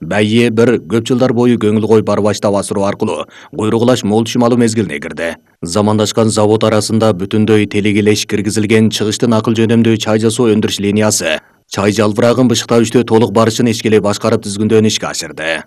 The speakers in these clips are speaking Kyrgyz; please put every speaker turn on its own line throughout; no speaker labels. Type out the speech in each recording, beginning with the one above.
Байе бир көп жылдар бою көңүл коюп барбаштап асыруу аркылуу куйругулаш мол түшүм алуу мезгилине кирди. Замандашкан завод арасында бүтүндөй телегелеш киргизилген чыгыштын акыл жөнөмдүү чай жасоо өндүрүш линиясы чай жалбырагын бышыктабүчтө толук барышын ишкеле башкарып түзгүндөн ишке ашырды.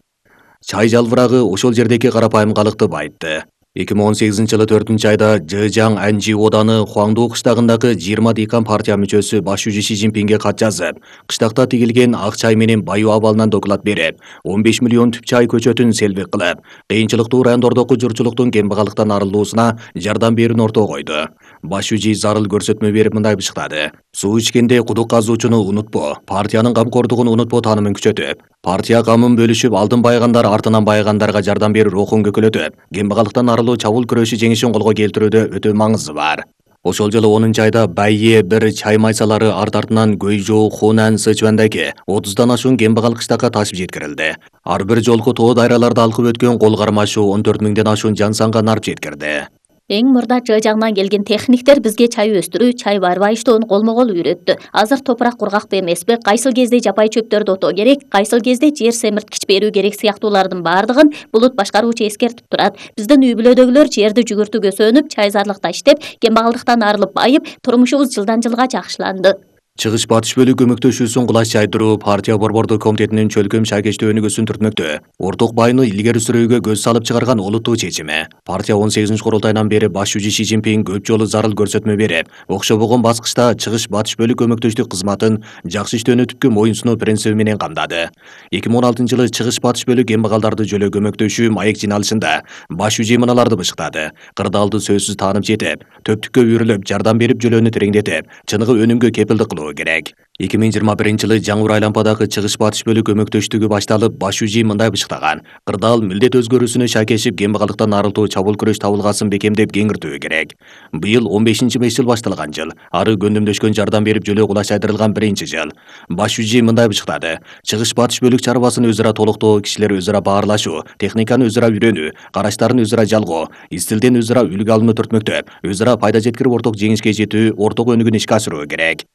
Чай жалбырагы ошол жердеки карапайым калыкты байытты. 2018-жылы 4-айда Жэжяң Анжи оданы Хуаңду кыштагындагы 20 декан партия мүчөсү башчы Ши Цзиньпинге кат жазып, кыштакта тигилген ак чай менен баюу абалынан доклад берип, 15 миллион түп чай көчөтүн селбик кылып, кыйынчылыктуу райондордогу журтчулуктун кембагалыктан арылуусуна жардам берүүнү ортого койду. Башчы зарыл көрсөтмө берип мындай бышыктады: суу ичкенде кудук казуучуну унутпо, партиянын камкордугун унутпо таанымын күчөтүп, партия камын бөлүшүп алдын байыгандар артынан байыгандарга жардам берүү рухун көкөлөтүп, кембагалыктан арылуу чабуул күрөшү жеңишин колго келтирүүдө өтө маңызы бар. Ошол жылы 10-айда Байе бир чай майсалары арт-артынан Гөйжоу, Хунан, Сычуандагы 30дан ашуун кембагал кыштакка ташып жеткирилди. Ар бир жолку тоо дайраларды алкып өткөн кол кармашуу 14 миңден ашуун жан санга нарп жеткирди.
Эң мурда Жэжяңдан келген техниктер бизге чай өстүрүү, чай байыштоону колмо-кол үйрөттү. Азыр топурак кургакпы эмеспи, кайсыл кезде жапай чөптөрдү отоо керек, кайсыл кезде жер семирткич берүү керек сыяктуулардын баардыгын булут башкаруучу эскертип турат. Биздин үй бүлөдөгүлөр жерди жүгүртүүгө сөнүп, чайзарлыкта иштеп, кембагалдыктан арылып байып, турмушубуз жылдан жылга жакшыланды.
Чыгыш батыш бөлүк көмөктөшүүсүн кулаш чайдыруу партия борбордук комитетинин чөлкөм шайкечтүү өнүгүүсүн түртмөктө. Орток байыны илгери сүрүүгө көз салып чыгарган олуттуу чечими. Партия 18-курултайынан бери башчы Ши Цзиньпин көп жолу зарыл көрсөтмө берип, окшобогон баскычта чыгыш батыш бөлүк көмөктөштүк кызматын жакшы иштөөнү түпкү моюнсунуу принциби менен камдады. 2016-жылы чыгыш батыш бөлүк кембагалдарды жөлөө көмөктөшүү маек жыйналышында башчы мыналарды бышыктады: кырдаалды сөзсүз таанып жетип, төптүккө үйрүлүп, жардам берип жөлөөнү тереңдетип, чыныгы өнүмгө кепилдик кылуу керек. 2021-жылы жаңы Айлампадагы чыгыш батыш бөлүк көмөктөштүгү башталып, башчы мындай бышыктаган: кырдаал милдет өзгөрүүсүнө шайкешип, кембагалыктан арылтуу чабуул күрөш табылгасын бекемдеп кеңиртүү керек. Быйыл 15-5 жыл башталган жыл, ары көндүмдөшкөн жардам берип жөлөө кулаш чайдырылган 1-жыл. Башчы мындай бышыктады: чыгыш батыш бөлүк чарбасын өзара толуктоо, кишилер өзара баарлашуу, техниканы өзара үйрөнүү, караштарын өзара жалгоо, изтилден өзара үлгү алууну түртмөктөп, өзара пайда жеткирип орток жеңишке жетүү, орток өнүгүүнү ишке ашыруу керек.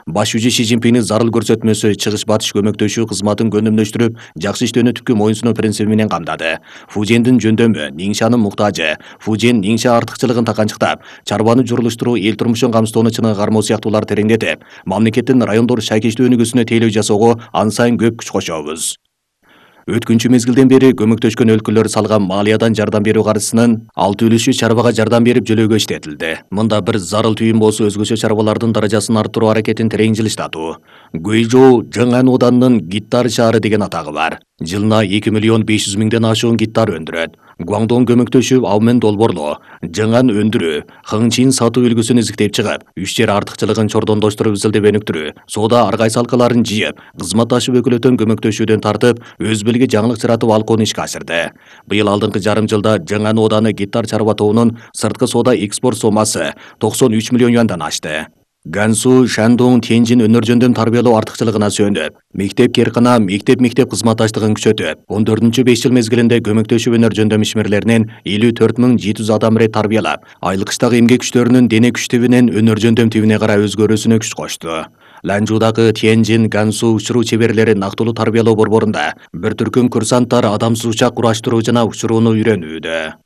Башчы Ши Цзиньпиндин зарыл көрсөтмөсү чыгыш батыш көмөктөшүү кызматын көндүмдөштүрүп, жакшы иштөөнү түпкү моюнсунуу принциби менен камдады. Фужендин жөндөмү, Ниңшанын муктажы, Фужен Ниңша артыкчылыгын таканчыктап, чарбаны журулуштуруу, эл турмушун камсыздоону чыныгы кармоо сыяктууларды тереңдетип, мамлекеттин райондор шайкечтүү өнүгүүсүнө тейлөө жасоого ан сайын көп күч кошобуз. Өткүнчү мезгилден бери көмөктөшкөн өлкөлөр салган малиядан жардам берүү каржысынын 6 чарбага жардам берип жөлөөгө иштетилди. Мында бир зарыл түйүн болсо, өзгөчө чарбалардын даражасын арттыруу аракетин терең жылыштатуу. Гөйжоу Жаңан оданынын Гиттар шаары деген атагы бар. Жылына 2 миллион 500 миңден ашуун гиттар өндүрөт. Гуаңдон көмөктөшүп, Аумен долборлоо, Жаңан өндүрүү, Хыңчин сатуу үлгүсүн изиктеп чыгып, 3 жер артыкчылыгын чордондоштуруп изилдеп өнүктүрүү, соода аргай салкаларын жыйып, кызматташып өкүлөтөн көмөктөшүүдөн тартып, өз билги жаңылык жаратып алкоону ишке ашырды. Быйыл алдыңкы жарым жылда Жаңан оданы гиттар чарба тобунун сырткы соода экспорт сомасы 93 миллион юандан ашты. Гансу, Шандong, Тяньжин өнөр жөндөм тарбиялоо артыкчылыгына сүйөнүп, мектеп-керкана, мектеп кызматташтыгын күчөтүп, 14-5 жыл мезгилинде көмөктөшүү өнөр жөндөм ишмерлеринен 54.700 адам рет тарбиялап, айлык иштагы эмгек күчтөрүнүн дене күч тибинен өнөр жөндөм тибине карай өзгөрүүсүнө күч кошту. Ланжудагы Тяньжин, Гансу учуруу чеберлери нактылуу тарбиялоо борборунда бир түркүм курсанттар адамсыз учак кураштыруу жана учурууну үйрөнүүдө.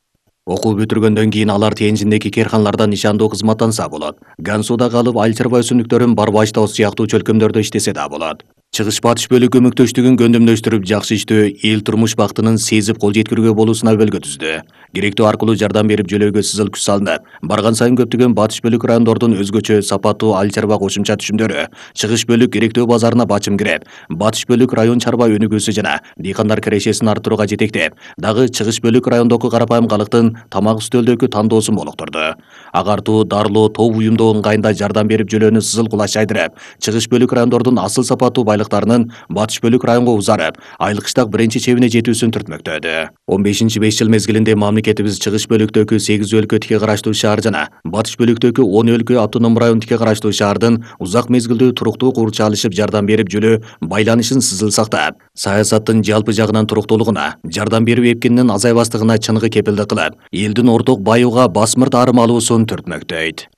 Окуу бүтүргөндөн кийин алар Тяньжиндеги керканаларда нишандуу кызматтанса болот. Гансуда калып айыл чарба өсүмдүктөрүн барбаштоо сыяктуу чөлкөмдөрдө иштесе да болот. Чыгыш батыш бөлүк көмөктөштүгүн көндүмдөштүрүп, жакшы иштөө эл турмуш бактынын сезип кол жеткирүүгө болуусуна өбөлгө түздү. Керектүү аркылуу жардам берип жөлөөгө сызыл күч салынып, барган сайын көптөгөн батыш бөлүк райондордун өзгөчө сапаттуу айыл чарба кошумча түшүмдөрү, чыгыш бөлүк керектөө базарына бачым кирип, батыш бөлүк район чарба өнүгүүсү жана дыйкандар кирешесин арттырууга жетектеп, дагы чыгыш бөлүк райондогу карапайым калктын тамак үстөлдөгү тандоосун молоктурду. Агартуу, дарылоо, топ уюмдоо ыңгайында жардам берип жөлөөнү сызыл кулаш чайдырып, чыгыш бөлүк райондордун асыл сапаттуу байлыктарынын батыш бөлүк районго узарып, айлык иштак биринчи чебине жетүүсүн түртмөктөдү. 15-5 жыл мезгилинде мамлекетибиз чыгыш бөлүктөгү 8 өлкө тике караштуу шаар жана батыш бөлүктөгү 10 өлкө автоном район тике караштуу шаардын узак мезгилдүү туруктуу курча алышып жардам берип жөлөө байланышын сызыл сактап, саясаттын жалпы жагынан туруктуулугуна, жардам берүү эпкининин азайбастыгына чыныгы кепилдик кылып, элдин орток баюуга басмырт арым алуусун түртмөктөйт.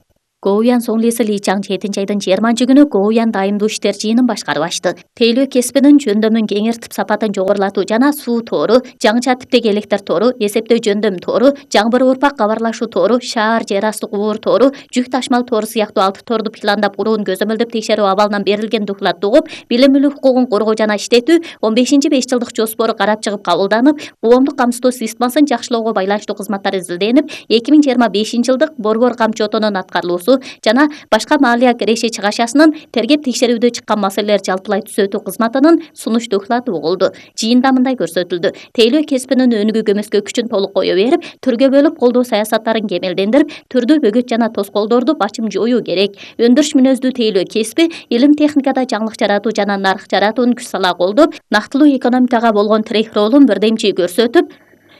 Гоуян Сонглиси Ли Чаң 7 айдын 20-күнү Гоуян дайымдуу иштер жыйынын башкарып ачты. Тейлөө кесибинин жөндөмүн кеңиртип сапатын жогорулатуу жана суу тору, жаңыча типтеги электр тору, эсептөө жөндөм тору, жаңбыр урпак кабарлашуу тору, шаар жер асты кубур тору, жүк ташмал тору сыяктуу 6 торду пландап курууну көзөмөлдөп текшерүү абалынан берилген докладты угуп, билим мүлүк укугун коргоо жана иштетүү 15-5 жылдык жоспору карап чыгып кабылданып, коомдук камсыздоо системасын жакшылоого байланыштуу кызматтар изилденип, 2025 жылдык борбор камчы отонун аткарылуусу жана башка малия киреши чыгашасынын тергеп текшерүүдө чыккан маселелер жалпылай түзөтүү кызматынын сунуш доклады угулду. Жыйында мындай көрсөтүлдү. Тейлөө кесибинин өнүгүү көмөскө күчүн толук кое берип, түргө бөлүп колдоо саясаттарын кемелдендирип, түрдүү бөгөт жана тоскоолдорду бачым жоюу керек. Өндүрүш мүнөздүү тейлөө кесиби илим техникада жаңылык жаратуу жана нарк жаратууну күч сала колдоп, нактылуу экономикага болгон тирек ролун бирдемчи көрсөтүп,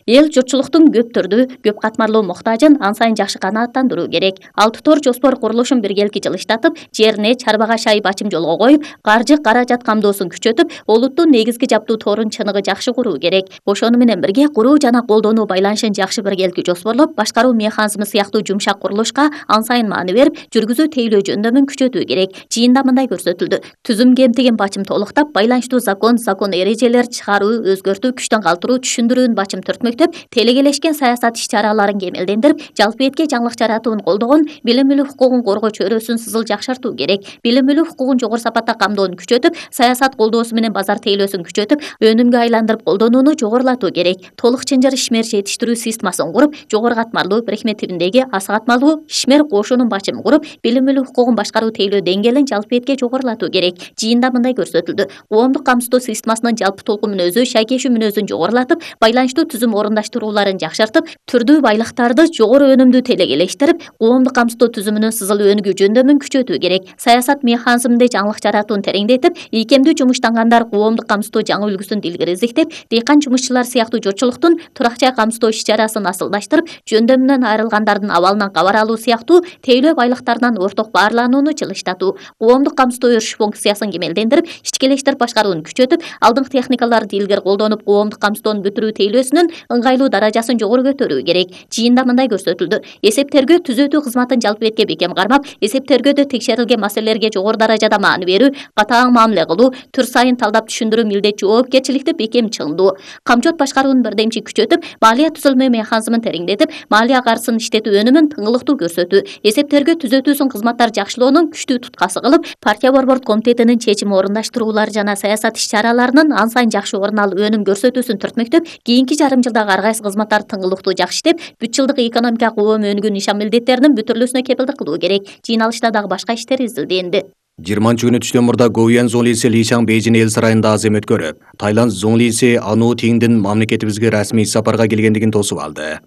эл журтчулуктун көп түрдүү, көп катмарлуу муктажын ан сайын жакшы канааттандыруу керек. 6 тор жоспор курулушун биргелки жылыштатып, жерине чарбага шай бачым жолго коюп, каржы каражат камдоосун күчөтүп, олуттун негизги жаптуу торун чыныгы жакшы куруу керек. Ошону менен бирге куруу жана колдонуу байланышын жакшы биргелки жоспорлоп, башкаруу механизми сыяктуу жумшак курулушка ан сайын маани берип, жүргүзүү тейлөө жөндөмүн күчөтүү керек. Жыйында мындай көрсөтүлдү. Түзүм кемтигин бачым толуктап, байланыштуу закон эрежелер чыгаруу, өзгөртүү, күчтөн калтыруу, түшүндүрүүнү бачым түртмөктөп, телегелешкен саясат иш-чараларын кемелдендирип, жалпы этке жаңылык жаратууну колдогон, билим мүлүк укугун коргоо чөйрөсүн сызыл жакшыртуу керек. Билим мүлүк укугун жогору сапатта камдоону күчөтүп, саясат колдоосу менен базар тейлөөсүн күчөтүп, өнүмгө айландырып колдонууну жогорулатуу керек. Толук чынжыр ишмер жетиштирүү системасын куруп, жогору катмарлуу, бирикме тибиндеги аса катмарлуу ишмер кошунун бачымын куруп, билим мүлүк укугун башкаруу тейлөө деңгээлин жалпы этке жогорулатуу керек. Жыйында мындай көрсөтүлдү. Коомдук камсыздоо системасынын жалпы толку мүнөзү, шайкешүү мүнөзүн жогорулатып, байланыштуу түзүм орундаштырууларын жакшыртып, түрдүү байлыктарды жогору өнүмдүү телегелештирип, коомдук камсыздоо түзүмүнүн сызыл өнүгүү жөндөмүн күчөтүү керек. Саясат механизминде жаңылык жаратууну тереңдетип, ийкемдүү жумуштангандар коомдук камсыздоо жаңы үлгүсүн илгери издиктеп, дыйкан жумушчулар сыяктуу журтчулуктун туракча камсыздоо иш-чарасын асылдаштырып, жөндөмүнөн айрылгандардын абалынан кабар алуу сыяктуу тейлөө байлыктарынан орток баарланууну жылыштатуу, коомдук камсыздоо өрүш функциясын кемелдендирип, ичкелештирип башкарууну күчөтүп, алдыңкы техникаларды илгери колдонуп, коомдук камсыздоону бүтүрүү тейлөөсүнүн ыңгайлуу даражасын жогору көтөрүү керек. Жыйында мындай көрсөтүлдү. Эсептөргө түзөтүү кызматын жалпы этке бекем кармап, эсептөргөдө текшерилген маселелерге жогору даражада маани берүү, катаң мамиле кылуу, түр сайын талдап түшүндүрүү милдет жоопкерчиликти бекем чыңдоо, камчот башкаруунун бирдемчи күчөтүп, малия түзүлмө механизмин тереңдетип, малия каржысын иштетүү өнүмүн тыңылыктуу көрсөтүү, эсептөргө түзөтүүсүн кызматтар жакшылоонун күчтүү туткасы кылып, партия борбордук комитетинин чечим орундаштыруулары жана саясат иш-чараларынын ан сайын жакшы орун алып өнүм көрсөтүүсүн түртмөктөп, кийинки жарым жылдагы ар кайсы кызматтар тыңылыктуу жакшы иштеп, бүт жылдык экономика коом өнүгүү нишан милдеттеринин бүтүрүлүүсүнө кепилдик кылуу керек. Жыйналышта дагы башка иштер изилденди.
20-күнү түштөн мурда Гоуян Зонглиси Ли Чаң Бейжин эл сарайында азем өткөрүп, Тайланд Зонглиси Ану Тиңдин мамлекетибизге расмий сапарга келгендигин тосуп алды.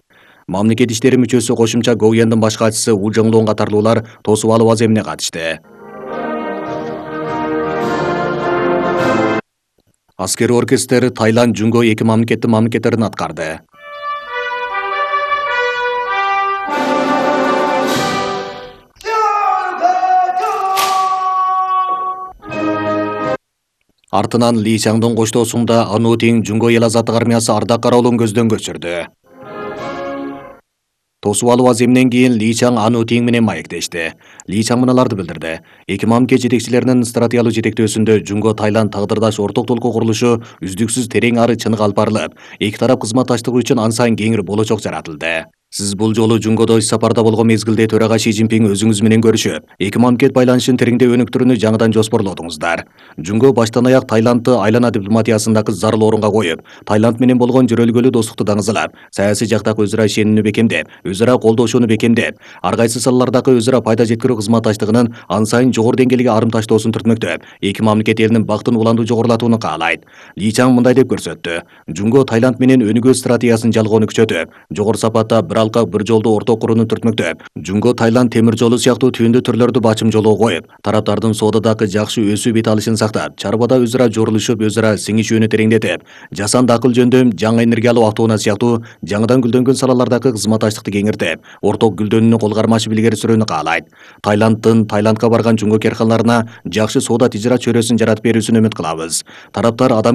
Мамлекет иштери мүчөсү кошумча Гоуяндын баш катчысы У Жоңлоң катарлуулар тосуп алуу аземине катышты. Аскери оркестр Тайланд Жунго эки мамлекеттин мамлекеттерин аткарды. Артынан Ли Чаңдын коштоосунда Ану Тиң Жунго эл азаттык армиясы ардак кароолун көздөн көчүрдү. Тосуп алуу аземинен кийин Ли Чаң Ану Тиң менен маектешти. Ли Чаң мыналарды билдирди. Эки мамлекет жетекчилеринин стратегиялык жетектөөсүндө Жунго Тайланд тагдырдаш орток толку курулушу үздүксүз терең ары чыныгы алып барылып, эки тарап кызматташтыгы үчүн ан сайын кеңири болочок жаратылды. Сиз бул жолу Жунгодо иш сапарда болгон мезгилде төрага Ши Цзиньпин өзүңүз менен көрүшүп, эки мамлекет байланышын тереңдөө өнүктүрүүнү жаңыдан жоспорлодуңуздар. Жунго баштан аяк Тайландты айлана дипломатиясындагы зарыл орунга коюп, Тайланд менен болгон жөрөлгөлүү достукту даңызалап, саясий жактагы өзара ишенимини бекемдеп, өзара колдошууну бекемдеп, ар кайсы салалардагы өзара пайда жеткирүү кызматташтыгынын ан сайын жогору деңгээлге арымташтоосун түртмөктөп, эки мамлекет элинин бактын уланду жогорулатууну каалайт. Ли Чаң мындай деп көрсөттү. Жунго Тайланд менен өнүгүү стратегиясын жалгоону күчөтүп, жогору сапатта бир алкак бир жолду орток курууну түртмөктөп, Жунго Тайланд темир жолу сыяктуу түйүндүү түрлөрдү бачым жолго коюп, тараптардын соодадагы жакшы өсүү бет алышын сактап, чарбада өзара жорулушуп, өзара сиңишүүнү тереңдетип, жасанды акыл жөндөм, жаңы энергиялуу автоунаа сыяктуу жаңыдан гүлдөнгөн салалардагы кызматташтыкты кеңиртип, орток гүлдөнүүнү кол кармашып илгери сүрүүнү каалайт. Тайландка барган Жунго керканаларына жакшы соода тижарат чөйрөсүн жаратып берүүсүн үмүт кылабыз. Тараптар адам